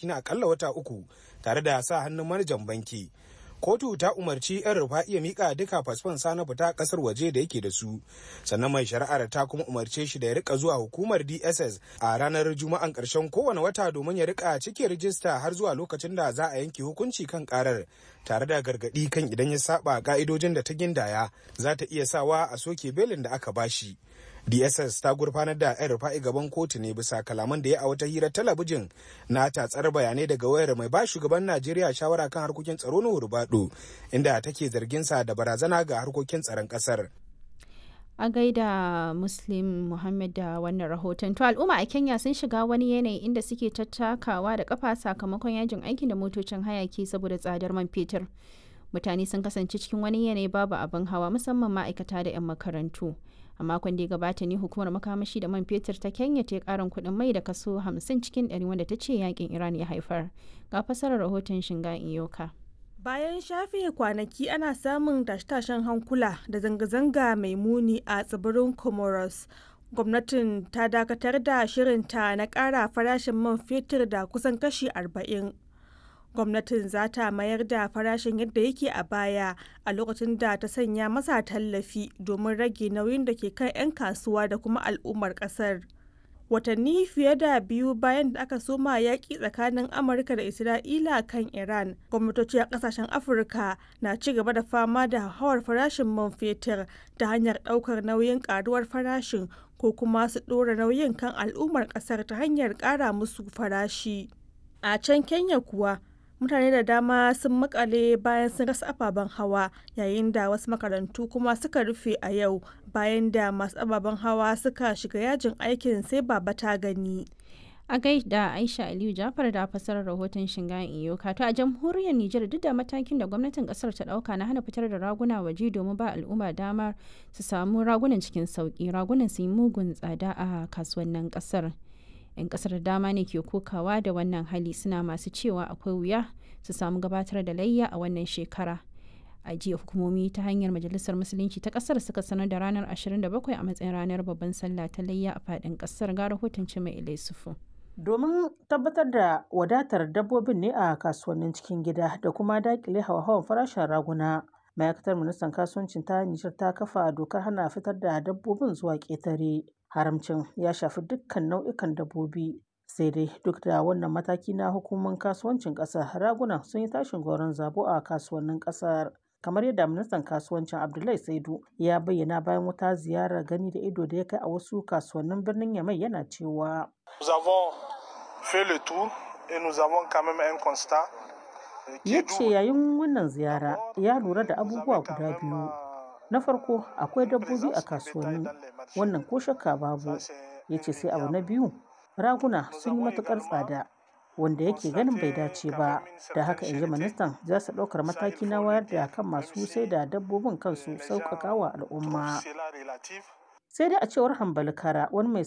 albashi na akalla wata 3 tare da sa hannun manajan banki. Kotu ta umarci 'yan Rufa'i ya mika duka fasfon sa na fita kasar waje da yake da su. Sannan mai shari'ar ta kuma umarce shi da ya rika zuwa hukumar DSS a ranar Juma'an karshen kowane wata domin ya rika cike rijista har zuwa lokacin da za a yanke hukunci kan karar, tare da gargadi kan idan ya saba ka'idojin da ta gindaya za ta iya sawa a soke belin da aka bashi. DSS ta gurfanar da 'yan Rufa'i gaban kotu ne bisa kalaman da ya a wata hirar talabijin na tatsar bayanai daga wayar mai ba shugaban Najeriya shawara kan harkokin tsaro na Rubado, inda take zargin sa da barazana ga harkokin tsaron kasar. A gaida Muslim Muhammad da wannan rahoton. To, al'umma a Kenya sun shiga wani yanayi inda suke tattakawa da kafa sakamakon yajin aikin da motocin hayaki saboda tsadar man fetur. Mutane sun kasance cikin wani yanayi babu abin hawa, musamman ma'aikata da 'yan makarantu. A makon da ya gabata ne hukumar makamashi da man fetur ta Kenya ta yi karin kuɗin mai da kaso 50 cikin 100, wanda ta ce yakin Iran ya haifar. Ga fasarar rahoton Shinga Iyoka. Bayan shafe kwanaki ana samun tashe-tashen hankula da zanga-zanga mai muni a tsibirin Comoros, gwamnatin ta dakatar da shirinta na ƙara farashin man fetur da kusan kashi 40. Gwamnatin za ta mayar da farashin yadda yake a baya a lokacin da ta sanya masa tallafi domin rage nauyin da ke kan 'yan kasuwa da kuma al'ummar kasar. Watanni fiye da biyu bayan da aka soma yaƙi tsakanin Amurka da Isra'ila kan Iran, gwamnatoci a ƙasashen Afirka na ci gaba da fama da hauhawar farashin man fetur ta hanyar ɗaukar nauyin ƙaruwar farashin ko kuma su ɗora nauyin kan al'ummar ƙasar ta hanyar ƙara musu farashi. A can Kenya kuwa, mutane da dama sun makale bayan sun rasa ababen hawa, yayin da wasu makarantu kuma suka rufe a yau bayan da masu ababen hawa suka shiga yajin aikin sai baba ta gani. A gaida Aisha Aliyu Jafar da fasarar rahoton Shingayen Iyoka. To, a jamhuriyar Nijar, duk da matakin da gwamnatin kasar ta dauka na hana fitar da raguna waje domin ba al'umma damar su samu ragunan cikin sauki, ragunan su yi mugun tsada a kasuwannin kasar. 'Yan kasar dama ne ke kokawa da wannan hali, suna masu cewa akwai wuya su samu gabatar da layya a wannan shekara. A jiya hukumomi ta hanyar Majalisar Musulunci ta kasar suka sanar da ranar 27 a matsayin ranar babban sallah ta layya a fadin kasar. Ga rahoton Mai Ilaisufu. Domin tabbatar da wadatar dabbobin ne a kasuwannin cikin gida da kuma dakile hawa-hawan farashin raguna, ma'aikatar ministan kasuwancin ta Nijar ta kafa dokar hana fitar da dabbobin zuwa ƙetare. Haramcin ya shafi dukkan nau'ikan dabbobi. Sai dai duk da wannan mataki na hukumomin kasuwancin ƙasar, raguna sun yi tashin goron zabo a kasuwannin ƙasar. Kamar yadda ministan kasuwancin Abdullahi Saidu ya bayyana bayan wata ziyarar gani da ido da ya kai a wasu kasuwannin birnin Yamai, yana cewa: Nous avons fait le tour et nous avons quand même un constat. Ya ce yayin wannan ziyara ya lura da abubuwa guda biyu. Na farko, akwai dabbobi a kasuwanni, wannan ko shakka babu. Ya ce sai abu na biyu, raguna sun yi matukar tsada, wanda yake ganin bai dace ba. Da haka, in ji ministan, za su ɗaukar mataki na wayar da kan masu sai da dabbobin kansu sauƙaƙa wa al'umma. Sai dai a cewar Hambali Kara, wani mai